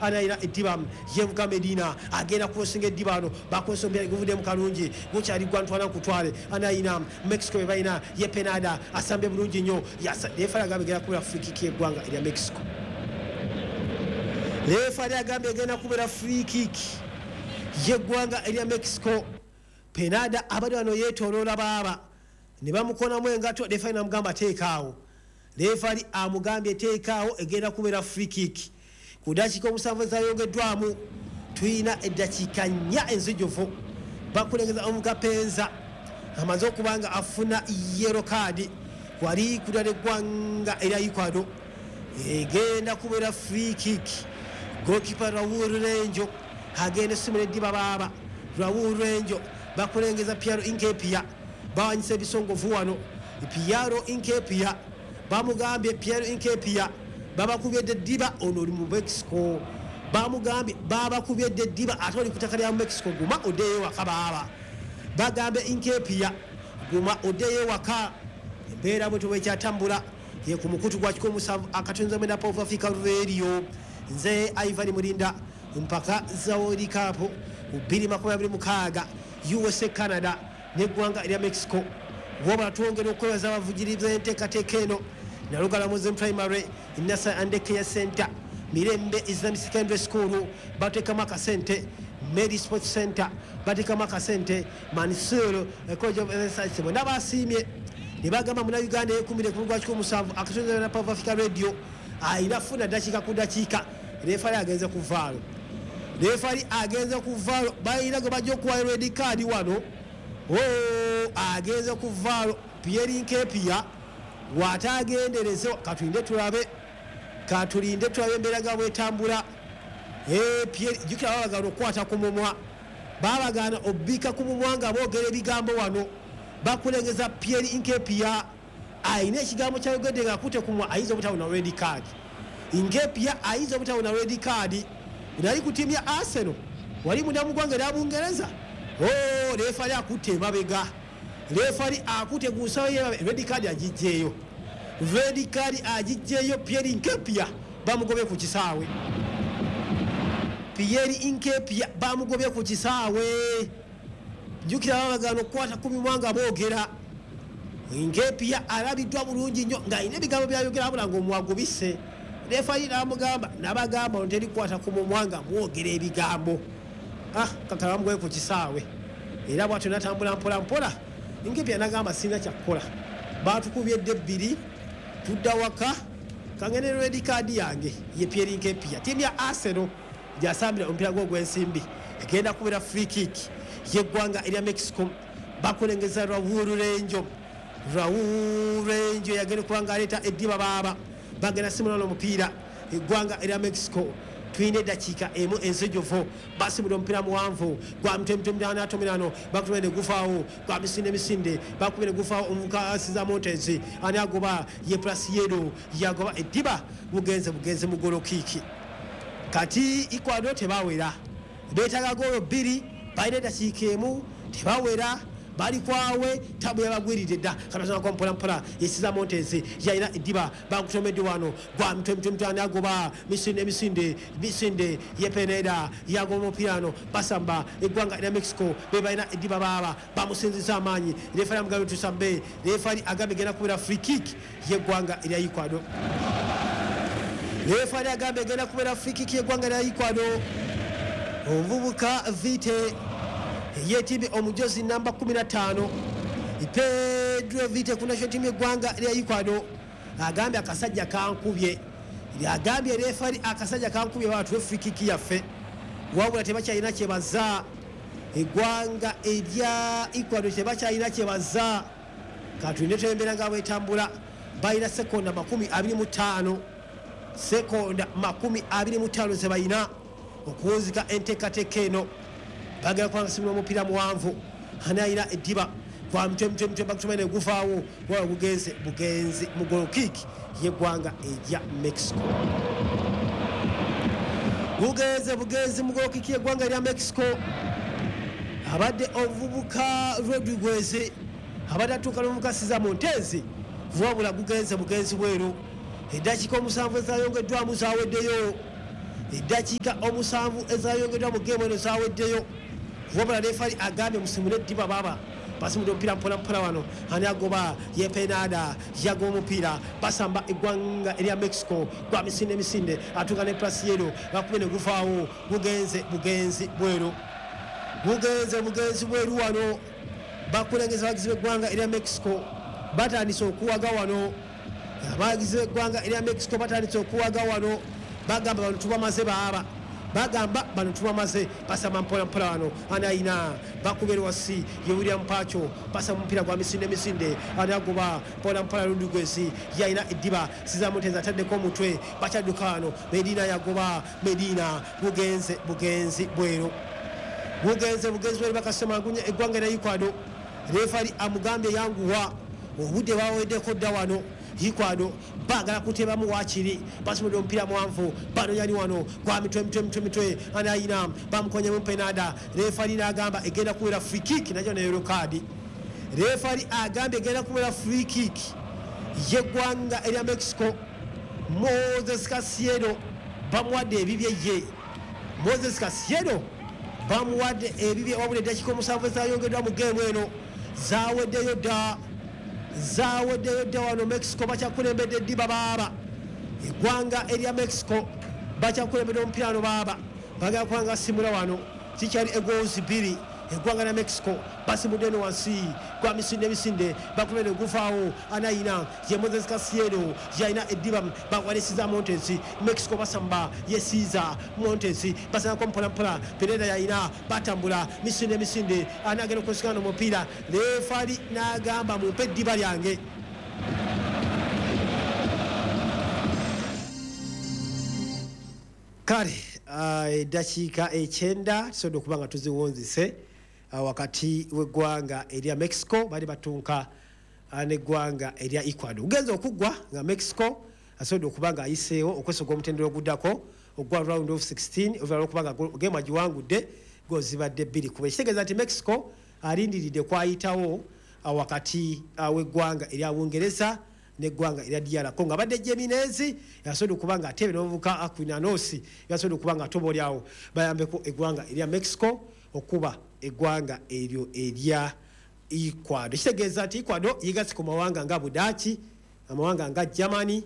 Anayina eddiba yevuga Medina, agenda kusinga eddiba ano, bakozesa omupiira guvuddemu kalungi, gukyali gwa ntwala nkutwale. Anayina Mexico be balina ye Penada, asambye bulungi nnyo. Referee agambye egenda kubeera free kick y'eggwanga erya Mexico. Referee agambye egenda kubeera free kick y'eggwanga erya Mexico. Penada abadde wano yeetooloola baaba ne bamukonamu engato. Referee namugamba teekaawo. Referee amugambye teekaawo, egenda kubeera free kick. Ku dakiika 7 ezayongeddwamu, tulina eddakiika 4 enzijuvu. Bakulengeza omuga Penza amaze okuba nga afuna yellow card wali kudala eggwanga erya Ecuador. Egenda kubeera free kick. Goalkeeper Raul Renjo agenda essomero eddiba baaba Raul Renjo. Bakulengeza Piero Hincapie, bawanyisa ebisongovu wano. Piero Hincapie bamugambye, Piero Hincapie babakubyedde eddiba, ono oli mu Mexico. Bamugambye babakubyedde eddiba, ate oli ku ttaka lya Mexico, guma oddeyo ewaka baaba. Bagambye Hincapie guma oddeyo ewaka. Embeera bwe tubwekyatambula ye ku mukutu gwa 107.9 Power Africa Radio. Nze Ivan Mulinda. Mpaka za World Cup 2026, USA, Canada neggwanga erya Mexico. Wabula twongera okwebaza abavugiriza enteekateeka eno: Nalugala Muslim Primary Nursery and Care Center, Mirembe Islamic Secondary School bateekamu akasente, Mary Sports Center bateekamu akasente, Mansur College of Science. Bonna basiimye ne bagamba Munauganda yekumire ku lugwa 107.9 Power Africa Radio ayina funa dakiika ku dakiika. Referee agenze ku VAR, referee agenze ku VAR, balina gwe bajja okuwa red card wano. Agenze ku VAR Pierre Hincapie watagendereze. Katulinde tulabe, katulinde tulabe embeera nga bwetambula. Jjukira babagaana okukwata ku mumwa, babagaana obbiika ku mumwa nga boogera ebigambo wano. Bakulengeza Pierre Hincapie, ayina ekigambo kyayogedde nga akutte ku mumwa, ayinza obutawona red card. Hincapie ayinza obutawona red card. Nali ku ttiimu ya Arsenal wali munda mu ggwanga erya Bungereza. Referee akutte emabega, referee akutte ku nsawo ye, red card agijjeeyo, red card agijjeeyo. Pierre Hincapie bamugobye ku kisaawe, Pierre Hincapie bamugobye ku kisaawe. Jjukira babagaana okukwata ku mimwa nga boogera. Hincapie alabiddwa bulungi nnyo ng'alina ebigambo byayogera, abula ng'omwagubise. Referee n'amugamba, nabagamba ono teri kukwata ku mumwa nga mwogera ebigambo. Kakala bamugobye ku kisaawe era bwatyo natambula mpola mpola. Hincapie nagamba sirina kyakukola, batukubye edda ebbiri, tudda waka, kangende red card yange. Ye Pierre Hincapie, ttiimu ya Arsenal gyasambira omupiira gwe ogw'ensimbi. Egenda kubeera free kick y'eggwanga erya Mexico. Bakulengeza Raul Renjo, Raul Renjo yagenda okuba nga aleeta eddiba baaba bagenda simulana omupiira eggwanga erya Mexico. Tulina eddakiika 1 enzijuvu. Basimula omupiira muwanvu gwa mitwe mitwe atomerano, bakubye ne gufaawo, gwa misinde misinde, bakubye ne gufaawo. Omuvuka asiza Montez, ani agoba? Ye Preciado yagoba eddiba, bugenze bugenze mu goal kick. Kati Ecuador tebawera, beetaaga goolo 2, balina eddakiika 1, tebawera, bali kwawe, tabu yabagwiridde dda. Katazanako mpola mpola, yesiza Montez, yalina eddiba, bakutomedde wano gwa mitwe mitwe mitwe, ani agoba? Misinde misinde misinde, ye Peneda yagoba omupiira ano. Basamba eggwanga erya Mexico be balina eddiba baaba bamusinziza amaanyi. Referee amugambye tusambe. Referee agambye genda kubeera free kick y'eggwanga erya Ecuador. Referee agambye egenda kubeera free kick y'eggwanga erya Ecuador. Omuvubuka Vite yeetimbye omujozi namba 15, Pedro Vite ku national team y'eggwanga erya Ecuador, agambye akasajja kankubye. Agambye referee akasajja kankubye, batuwe free kick yaffe. Wabula tebakyalina kyebaza, eggwanga erya Ecuador tebakyalina kyebaza. Katulinde twembeera nga bwetambula. Balina sekonda 25, sekonda 25 zebalina okuwunzika enteekateeka eno. Bagenda kubanga simula omupiira muwanvu, ani alina eddiba? Gwa mitwe mitwe mitwe, bakutuma ne guvaawo, wala bugenze bugenzi mu goal kick y'eggwanga erya Mexico. Bugenze bugenzi mu goal kick y'eggwanga erya Mexico. Abadde omuvubuka Rodriguez abadde atuuka n'omuvubuka Siza Montez, wabula gugenze bugenzi bweru. Eddakiika 7 ezayongeddwamu zaweddeyo. Eddakiika 7 ezayongeddwa mu geemu eno zaweddeyo. Wabula refali agambye musimule eddiba baaba. Basimudde omupiira mpola mpola wano. Ani agoba? Ye Penada yagoba omupiira. Basamba eggwanga erya Mexico gwa misinde misinde, atuuka ne Prasiero bakube ne guvaawo. Gugenze bugenzi bweru, bugenze bugenzi bweru wano. Bakulengeza abawagizi b'eggwanga erya Mexico batandise okuwaga wano. Abawagizi b'eggwanga erya Mexico batandise okuwaga wano, bagamba bano tubamaze baaba, bagamba bano tubamaze. Basamba mpola mpola wano. Ani ayina? Bakubera wasi ye William Pacho. Basamba omupiira gwa misinde misinde. Ani agoba? Mpola mpola Rodriguez yayina eddiba. Siza Montez ataddeko omutwe, bakyadduka wano. Medina yagoba, Medina bugenze bugenzi bweru, bugenze bugenzi bweru. Bakasemagunya eggwanga erya Ecuador. Refali amugambye yanguwa, obudde baweddeko dda wano. Ecuador baagala kutebamu waakiri. Basimudde omupiira muwanvu, banonyani wano gwa mitwe mitwe mitwe mitwe. Ani ayina? Bamukonyemu Penada. Refali n'agamba egenda kuwera free kick, najjo ne yellow card. Refali agambye egenda kuwera free kick y'eggwanga erya Mexico. Moses Caicedo bamuwadde ebibye ye. Moses Caicedo bamuwadde ebibye. Wabula eddakiika 7 ezayongeddwa mu geemu eno zaweddeyo dda, zaweddeyo dda wano. Mexico bakyakulembedde eddiba baaba. Eggwanga erya Mexico bakyakulembedde omupiira wano baaba. Bagala kuba nga basimula wano, kikyali egoals 2. Eggwanga lya Mexico basimudde eno wansi gwa misinde misinde, bakubere guvaawo. Anayina ye Moses Caicedo yalina eddiba, bakwalisiza Montes. Mexico basamba ye Cesar Montes, basanako mpola mpola. Pineda yalina, batambula misinde misinde. Anagenda okusikana omupiira? Refali n'agamba mumpe eddiba lyange. Kale eddakiika 9 tusobodde okuba nga tuziwunzise wakati w'eggwanga erya Mexico bali batunka n'eggwanga erya Ecuador. Ugenze okuggwa nga Mexico asobodde okuba nga ayiseewo okwesoga omutendera oguddako ogwa round of 16, oluvannyuma lw'okuba nga geemu agiwangudde goals zibadde 2 kuba. Ekitegeeza nti Mexico alindiridde kwayitawo wakati w'eggwanga erya Bungereza n'eggwanga erya DR Congo. Abadde Jimenez yasobodde okuba nga atebe n'omuvubuka Aquinanos yasobodde okuba nga atoba oli awo bayambeko eggwanga erya Mexico okuba eggwanga eryo erya Ecuador. Kitegeeza nti Ecuador yegasse ku mawanga nga Budaaki, amawanga nga Germany,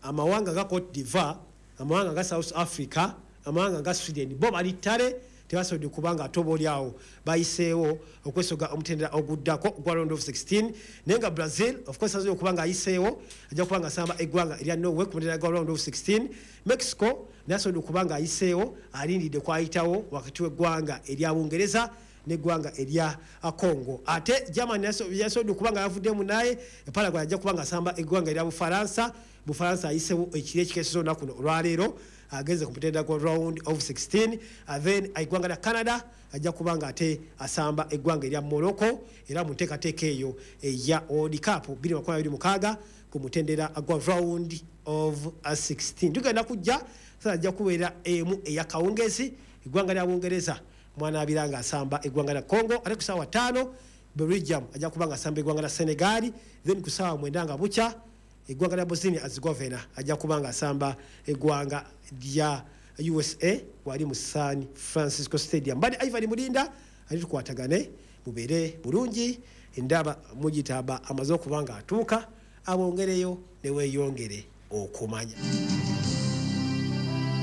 amawanga nga Cote d'Ivoire, amawanga nga South Africa, amawanga nga Sweden. Bo bali ttale, tebasobodde kuba nga atoba oli awo bayiseewo okwesoga omutendera oguddako gwa round of 16. Naye nga Brazil of course asobola okuba nga ayiseewo, ajja kuba nga asamba eggwanga erya Norway ku mutendera gwa round of 16. Mexico naye asobodde okuba nga ayiseewo, alindiridde kwayitawo wakati w'eggwanga erya Bungereza n'eggwanga erya Congo. Ate Germany yasobodde okuba nga yavuddemu, naye Paraguay ajja kuba nga asamba eggwanga erya Bufalansa. Bufalansa ayiseewo ekiro ekikeeseza olunaku luno olwaleero, agenze ku mutendera gwa round of 16. Then eggwanga lya Canada ajja kuba nga ate asamba eggwanga erya Morocco, era mu nteekateeka eyo eya World Cup 2026 ku mutendera gwa round of 16. Tugenda kujja sasa, ajja kubeera emu eya kawungezi, eggwanga lya Bungereza mwanaabira nga asamba eggwanga lya Congo. Ate ku ssaawa 5 Belgium ajja kuba nga asamba eggwanga lya Senegal. Then ku ssaawa 9 nga bukya eggwanga lya Bosnia Herzegovina ajja kuba nga asamba eggwanga lya USA wali mu San Francisco Stadium. Mbadde Ivan Mulinda, ali tukwatagane, mubeere bulungi. Ndaba mugitaba amaze okuba nga atuuka abongereyo ne weeyongere okumanya.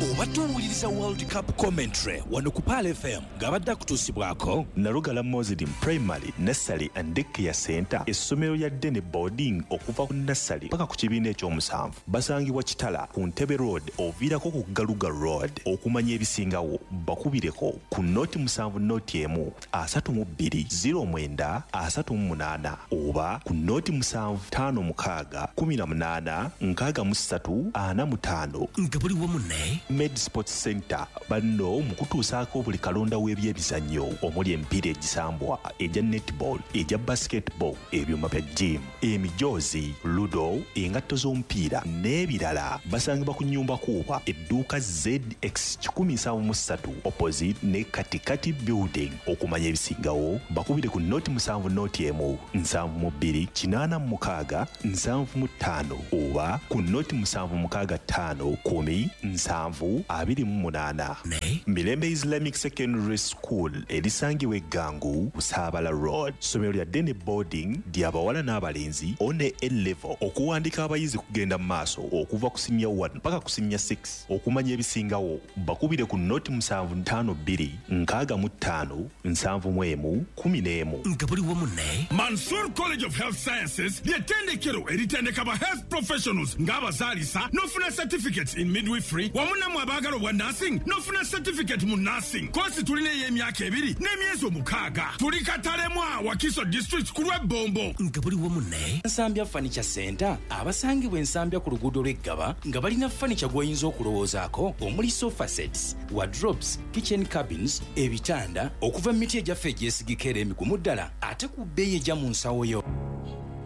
Obadde owuliriza World Cup commentary wano ku Pearl FM ng'abadde akutuusibwako Nalugala Muslim Primary, Nursery and Daycare Center, essomero lya day ne boarding okuva ku nursery paka ku kibiina ekyomusanvu. Basangibwa Kitala ku Ntebe Road, oviirako ku Galuga Road. Okumanya ebisingawo bakubireko ku 070 132 09 38 oba ku 0756 18 63 45. Nga buli wamu ne Med Sports Center, banno mu kutuusaako buli kalonda w'ebyemizannyo omuli emipiira egisambwa, egya netball, egya basketball, ebyuma bya gym, emijoozi, ludo, engatto z'omupiira n'ebirala. Basangibwa ku Nyumba Kuuba, edduuka ZX 173, opposite ne Katikati Building. Okumanya ebisingawo bakubire ku 071 72 86 75 oba ku 0765 10 7. 7 28. Mirembe Islamic Secondary School erisangibwa Eggangu, Busaabala Road. Ssomero lya day ne boarding, lya bawala n'abalenzi, O ne A level. Okuwandiika abayizi kugenda mu maaso okuva ku siniya 1 paka ku siniya 6. Okumanya ebisingawo bakubire ku noti 752 65 71 11. Nga buli wamu ne Mansur College of Health Sciences ly'ettendekero eritendeka ba health professionals ng'abazaalisa n'ofuna certificates in midwifery, wamu nammwe abaagala obwa nursing n'ofuna certificate mu nursing. Kosi tulina ey'emyaka 2 n'emyezi 6. Tuli Katalemwa, Wakiso District, ku lw'Ebbombo. Nga buli wamu ne Nsambya Furniture Center, abasangibwa Ensambya ku luguudo lw'Eggaba, nga balina furniture gw'oyinza okulowoozaako, omuli sofa sets, wardrobes, kitchen cabins, ebitanda okuva mu miti egyaffe egyesigika era emigumu ddala, ate ku bbeeyi ejja mu nsawo yo.